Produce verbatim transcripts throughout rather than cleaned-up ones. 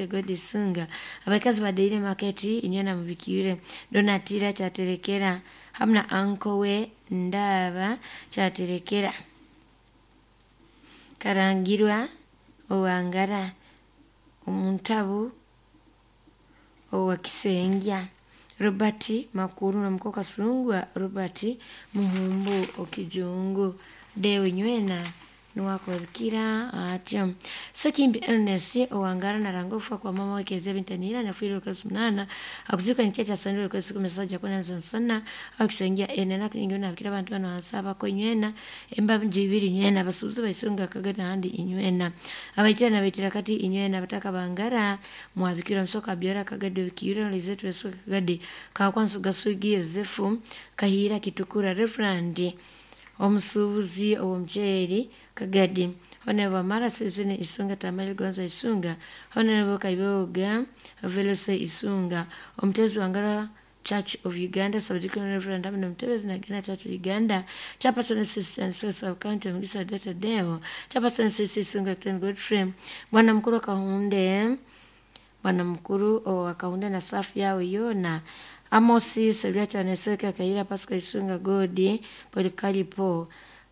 Godi Isunga abakazi badaire maketi inywena mubikire Donatira Kyaterekera hamu na anko we Ndaba Kyaterekera Karangirwa Owangara Omuntabu owa Kisengya Robert Makuru na muko Kasungwa Robert Muhumbu Okijungu Dewe nywena niwakubabikira atyo Sekimbi Ernest owangara naranga okufa kwa mama wake Bintanira nafiire okwezi munana akuzikwa nikyecha sandura okwezi kumi sajja kunanza nsana akusengia ene nakunyingi nabikira abantu bano hansi abako inywena embabingi ibiri inywena abasuubuzi baisunga kagada handi inywena abaitira nabaitira kati inywena abataka bangara mwabikira musoka byora kagade bikira lizetu yesu kagade kakwansu gasugi Yosefu Kahira Kitukura Reverend omusuubuzi ow'omuceeri Kagadi Honorable Mara Sezene Isunga Tamale Gonza Isunga Honorable Kaiboga Velose Isunga omutezi wangara Church of Uganda Subdeacon Reverend Amina Mutebezi Nagina Church of Uganda Chairperson Assistant Sub County Mugisa Data Deo Chairperson Assistant Isunga Ten Godfrey Bwana Mkuru Kahunde Bwana Mkuru owa Kahunde na safu yao yona Amosi Seruata Neseka Kaira Pascal Isunga Godi Polikalipo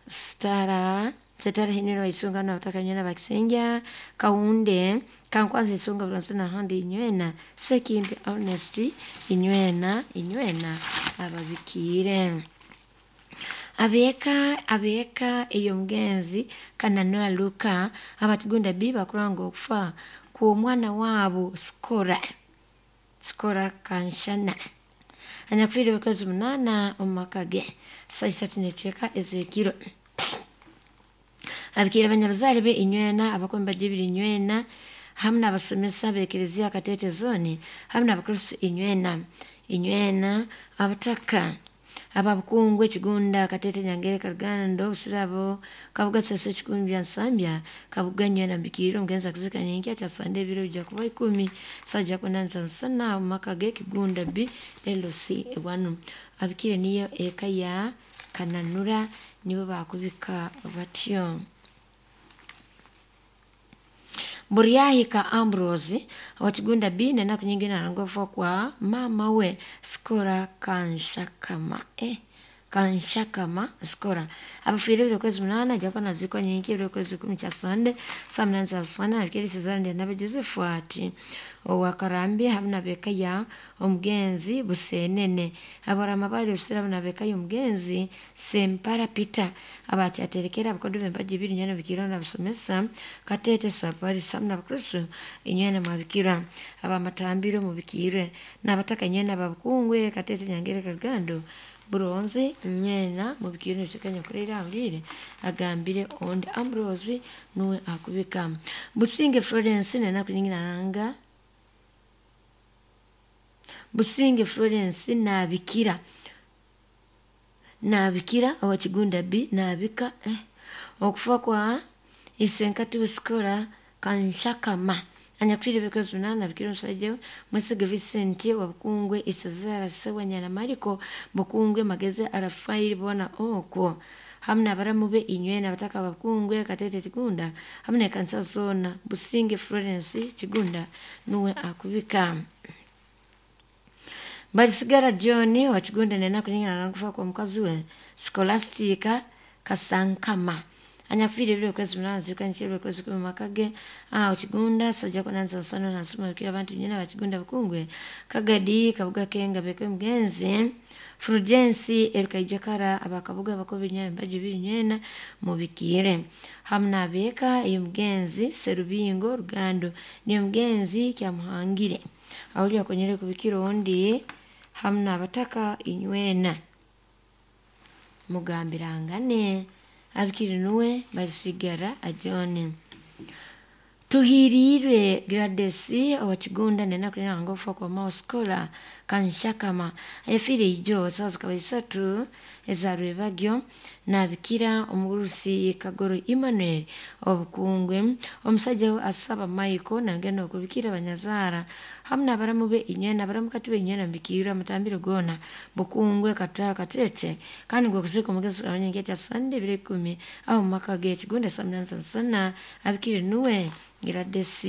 Stara Setara hiniro Isunga na utaka nywena bakisenja Kaunde Kankwanza Isunga Bulansana handi inywena Sekimbi Honesty inywena inywena ababikire Abeeka abeeka ey'omugenzi Kananura Luka abatugunda bi bakuranga okufa kw'omwana waabo Sikora Sikora Kanshana anyakufiire okwezi munaana omu maka ge saa isatu n'ecweka ez'ekiro abikiire abanyabuzaare be inywena abakomi bajibiri inywena hamu n'abasomesa b'ekereziya Katete Zone hamu n'abakristo inywena inywena abataka ababukungu ekigunda Katete Nyangere Karugando Busirabo Kabuga Sese Kikumbya Nsambya Kabuga nywena mbikirire omugenzi akuzika nyenkya kyasande ebiro bijja kuba ikumi sajja kunanza nsana omu maka g'ekigunda B L C wanu abikire niyo eka ya Kananura nibo bakubika batyo Buryahika Ambrose wakigunda B nenaku nyingi narangwa kwa mama we Sikora Kanshakama eh Kanshakama Sikora abafiire ebiro kwezi munaana ajja kuba nazikwa nyenkya ebiro kwezi kumi kya Sande saa munaana za busana abikire Sezarande nabe Joseph ati owa Karambi hamu nabeka ya omugenzi Busenene abarama bali Busira hamu nabeka y'omugenzi Sempara Peter abakyaterekera abakodo b'embaji ibiri nywena bikira nabasomesa Katete Safari hamu n'abakristo inywena mwabikira abamatambiro mubikire n'abataka inywena ababukungwe Katete Nyangere Karugando Buronze nywena mubikire nitekanya kurira awulire agambire ondi Ambrose nuwe akubika Businge Florence nenaku nyingi nanga Businge Florence nabikira nabikira owakigunda B nabika eh, okufa kwa isenkati Busikora Kanshakama anyakufiire ebyokwezi munaana nabikira omusajja we Mwesiga Vincent wa Bukungwe Isazara Ssewanyana Mariko Bukungwe Magezi Arafairi boona okwo hamu n'abaramu be inywena abataka Bakungwe Katete Kigunda hamu n'ekanisa zoona Businge Florence Kigunda nuwe akubika Barisigara John wa Kigunda nenaku nyingi narangufa kwa mukazi we Scholastica Kasankama anyakufiire ebiro kwezi munaana zikwa nkiro kwezi kumi makage aho Kigunda sajja kunanza nsano nasoma bikira abantu nyina bakigunda Bukungwe Kagadi Kabuga Kenga beke mugenzi Fulgensi Erukaijakara abakabuga abakobi nywena mbaji biri nywena mubikire hamu n'abeeka ey'omugenzi Serubingo Rugando niyo mugenzi Kyamuhangire awuli akonyere kubikira ondi hamu n'abataka inywena mugambirangane abikire nuwe barisigara ajone Tuhirirwe Gladys owa Kigunda nenaku nanga okufa kwa Mao Scholar Kanshakama ayafiire ijo saawa zikaba isatu eza rwebagyo nabikira omugurusi Kagoro Emmanuel obukungwe omusajja we asaba Michael nagenda okubikira abanyazaara hamu n'abaramu be inywena abaramu kati be inywena mbikirwe amatambiro goona Bukungwe Kata Katete kandi gwe okuziika omugenzi abanyenkya kya Sande ebiro ikumi aho mu maka ge Kigunda saa munaana za musana abikire nuwe Gladys.